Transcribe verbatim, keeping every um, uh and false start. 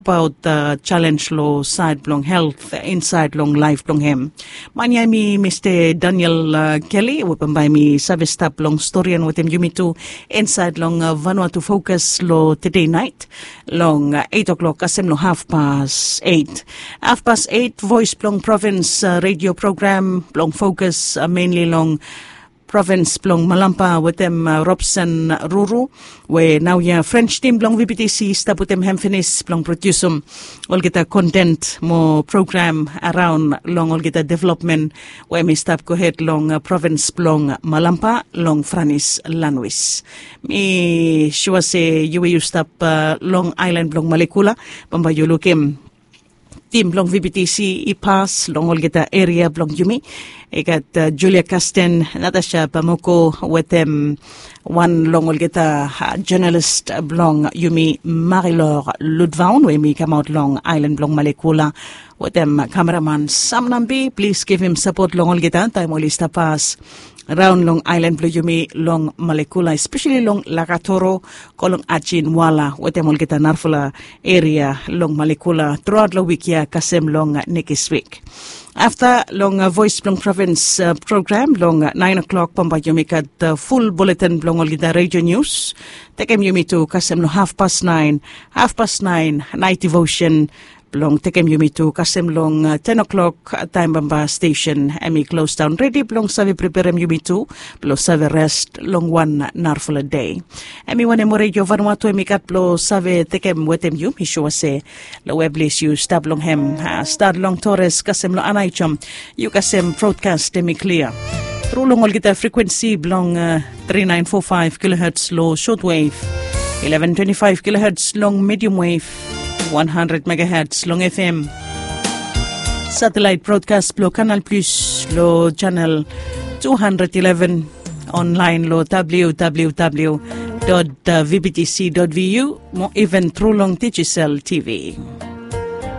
Abaot jalenj long saed blong helt insaed long laef blong hem. Man ya em i Mista Daniel Keli we bambae em i save stap long storian wetem yumi tu insaed long Vanuatu Fokas long tede naet long eit oklok kasem long hafpas eit. Hafpas eit, Voes blong Provins redio program blong fokas menli long provins blong Malampa wetem Robson Ruru, we naoia French tim blong VBTC i stap wetem hem finis blong prodiusim olgeta kontent mo program araon long olgeta developmen we em i stap gohed long provins blong Malampa long Franis lanwis. Mi sua se yu we yu stap long aelan blong Malekula, bambae yu lukim tim blong VBTC i pas long olgeta eria blong yumi. I gat Julia Kasten, Natasha Bamoko wetem wan long olgeta jonalis blong yumi, Marilor Ludvaun, we em i kamaot long aelan blong Malekula, wetem kameraman Sam Nambi. Plis givim sapot long olgeta taem oli stap pas raon long aelan blong yumi long Malekula, espeseli long Lakatoro, go long Ajinwala wetem olgeta narafala eria long Malekula truaot long wik ya kasem long nekis wik. Afta long Voes blong Provins program long naen oklok, bambae yumi gat ful buletin blong olgeta redio nius. Tekem yumi tu kasem long hafpas naen, hafpas naen naet devosen blong tekem yumi tu kasem long ten oklok, taem bambae stesen em i klosdaon, redi blong save preperem yumi tu blong save res long wan narafala dei. Em i wanem redio Vanuatu em i gat blong save tekem wetem yu. Mi sua se long we ples yu stap long hem, stat long Tores kasem long Anaijom, yu kasem brodkas em i klia tru long olgeta frekuensi blong three nine four five kilohertz long shortwave, eleven twenty-five kilohertz long medium wave, one hundred megahertz long FM. Satellite broadcast blong Canal Plus long channel two hundred eleven, online long www.vbtc.vu, mo even tru long Digicel TV.